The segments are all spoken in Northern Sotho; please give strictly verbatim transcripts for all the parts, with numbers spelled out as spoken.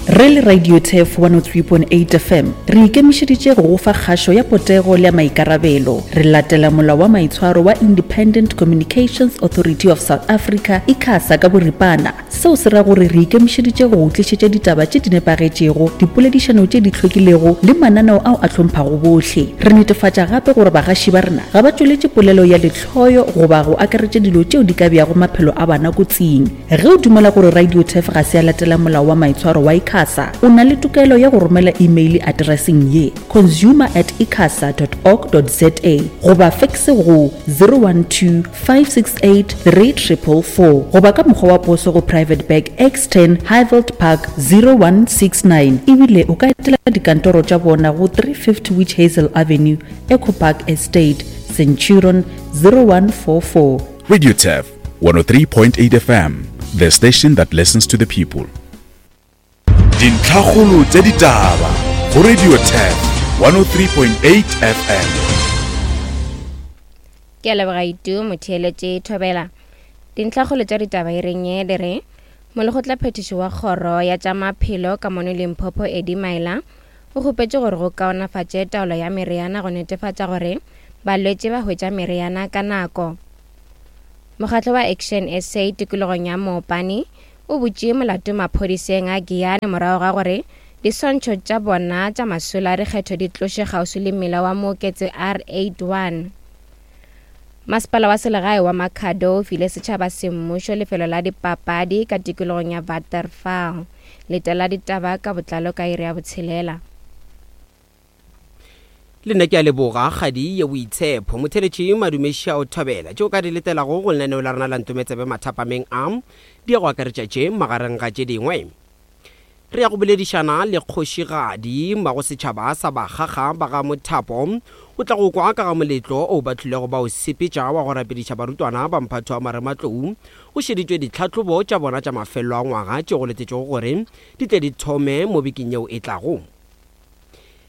Re le Radio Turf one oh three point eight F M, re ikemišeditše go go fa kgašo ya potego le ya maikarabelo. Re latela molao wa maitshwaro wa Independent Communications Authority of South Africa, ICASA ka boripana. Seo se ra gore re ikemišeditše go go tlišetša ditaba tše di nepagetšego, dipoledišano tše di hlwekilego le mananeo ao a hlomphago bohle. Re netefatša gape gore bagaši ba rena ga ba tšweletše polelo ya lehloyo goba go akaretša dilo tšeo di ka beago maphelo a bana kotsing. Ge o dumela gore Radio Turf ga se ya latela molao wa maitshwaro wa ICASA, o na le tokelo ya go romela email atereseng ye, consumer at icasa dot org dot za goba fekse go zero one two five six eight three triple four goba ka mokgwa wa poso go Private Bag X ten Highveld Park zero one six nine. Ebile o ka etela dikantoro tša bona go three fifty Witch Hazel Avenue, Echo Park Estate, Centurion zero one four four. Radio Turf one oh three point eight F M, the station that listens to the people. Dintlhakgolo tša ditaba go Radio Turf one oh three point eight F M. Ke a leboga Itu motheeletše Thobela. Dintlhakgolo tša ditaba e reng ye di re molekgotla phethišo wa kgoro ya tša maphelo ka mono Limpopo Eddie Maila o kgopetše gore go kaonafatše taolo ya meriana go netefatša gore balwetši ba hwetša meriana ka nako. Mokgatlo wa Action S A tikologong ya Mopani o butše molato maphodiseng a Giyani morago ga gore diswantšho tša bona tša masolo a dikgetho di tloše kgauswi le mmila wa Mooketsi R eight one. Masepala wa selegae wa Makhado o file setšhaba semmušo lefelo la dipapadi ka tikologong ya Waterval. Letela ditaba ka botlalo ka iri ya botshelela. Le nna ke a leboga kgadi ye boitshepo motheletši madumeši a o thobela tšeo ka di letelago go lenaneo la rena la Ntometsebe mathapameng a di ya go akaretša tše magareng ga tše dingwe. Re ya go boledišana le kgošigadi mmago setšhaba sa Bakgakga ba ga Mothapo, o tla go kwa ka ga moletlo o ba tlilego ba o sepetša wa go rapediša barutwana ba mphatho wa marematlou go šeditšwe ditlhahlobo tša bona tša mafelelo a ngwaga tše go letetšego gore di tle di thome mo bekeng yeo e tlago.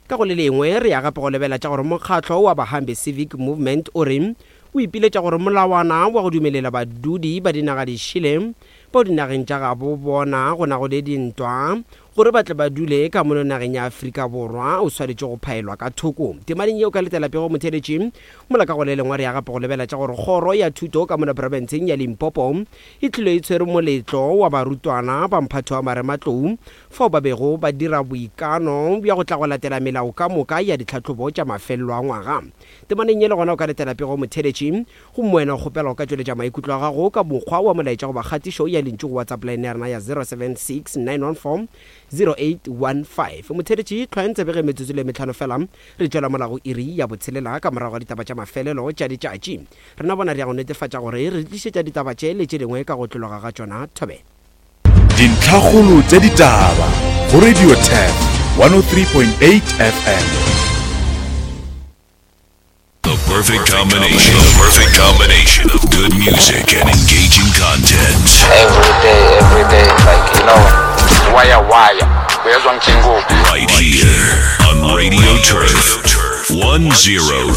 Ka go le lengwe re ya gape go lebela tša gore mokgatlo wa Bahambe Civic Movement o re o ipiletša gore molawana wa go dumelela badudi ba dinaga dišele bao dinageng tša gabo bona go nago le dintwa gore ba tle ba dule ka mono nageng ya Afrika Borwa o swanetše go phaelwa ka thoko. Temaneng yeo ka letela pego motheletši mola ka go le lengwe re ya gape go lebela tša gore kgoro ya thuto ka mono profenseng ya Limpopo e tlile e tshwere moletlo wa barutwana ba mphatho wa marematlou fao ba bego ba dira boikano bja go tla go latela melao ka moka ya ditlhahlobo tša mafelelo a ngwaga. Temaneng ye le gona o ka letela pego motheletši gomme wena o kgopela go ka tšweletša maikutlo a gago ka mokgwa wa molaetša goba kgatišo ya lentšu go WhatsApp line ya rena ya zero seven six nine one four zero eight one five. Motheletši hlwayang tsebe ge metsotso le metlhano fela re tšwela morago iri ya botshelela ka morago ga ditaba tša mafelelo tša letšatši. Rena bona re ya go netefatša gore re tlišetša ditaba tše le tše dingwe ka go tlologa ga tšona. Thobela. Dintlhakgolo tša ditaba go Radio Turf one oh three point eight F M. The perfect combination. The perfect combination of good music and engaging content. Every day, every day, like, you know, wire, wire. Uyezwa ngijingo. Right here on Radio Turf one zero